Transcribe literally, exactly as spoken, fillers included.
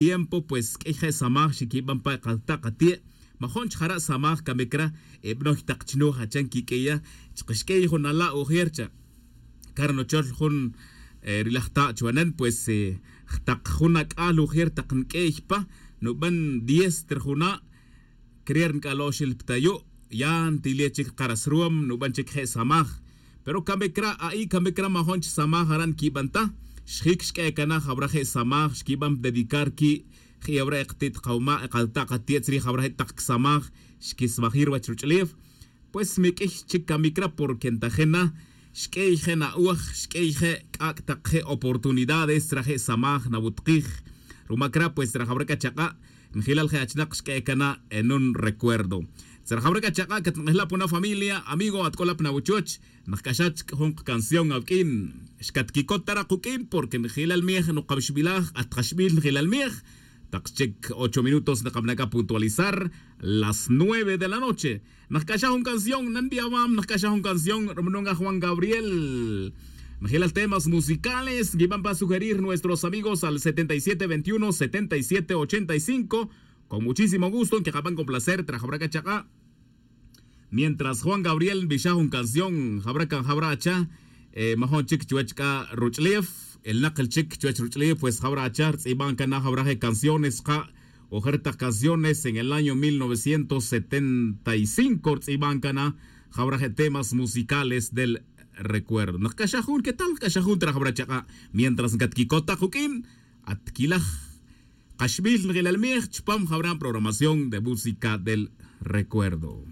tiempo pues q'uiy je' samaj xiquiban pa kalta' kati'e'. Majon chjara' samaj camic ra e banoy tak chnuj achan quiq'uiya. Chkaxq'uiy jun ala' ujer cha' car nochol jun rilaj ta' chuwanen pues tak jun ac'al ujer tak nq'uiy pa nuban diez ta ri juna'. Crier nc'alo' xil ptayu' ya ntile chic karas ruwam nuban chic je' samaj. Pero camic ra a'i camic ra majon chi samaj ara' nquiban ta. Xjic xq'ue cana jawra je' samaj xquiban dedicar qui' je' awra e kati't kawma' e kalta' kati'e' tzrij awra je' tak csamaj. Xquismajir wach ruch'ulef pues mi q'uiy chic camic ra porque ntajin na xq'uey je' na'oj xq'uey je' c'ac' tak je' oportunidades tzra je' samaj nawutkij. Rumac ra pues tzra jawra c'achak'a' njilal je' achinak xq'ue cana en un recuerdo. Tzra jawra c'achak'a' catnk'ejla' puna familia amigo atc'ola pna wuchoch. Nakc'axa chic jun kacanción awuq'uin xcatquicot ta ra kuq'uin porque njilal miej nukawixbilaj at kaxbil njilal miej. Tak chic ocho minutos nakabana' c'a puntualizar las nueve de la noche. Nakc'axa jun canción nanbiawam nakc'axa jun canción rumunun a juan gabriel. Najilal temas musicales nquiban pa sugerir nuestros amigos al setenta y siete veintiuno setenta y siete ochenta y cinco. Con muchísimo gusto nquiqaban con placer trajawra c'a chak'a'. Mientras juan gabriel nbixaj jun canción jawra can jawra acha majon chic chuwech c'a ruch'ulef. Elnak el chic chuwech ruch'ulef pues jawra acha rtz'iban can na jawra je' canciones ka' ojer tak canciones en el año mil novecientos setenta y cinco rtz'iban can na jawra je' temas musicales del recuerdo nkac'axaj jun quetal nkac'axaj jun trajawra chak'a'. Mientras ncatquicot tak juq'uin atquilaj kaxbil njelal miej chupam jawra programación de música del recuerdo.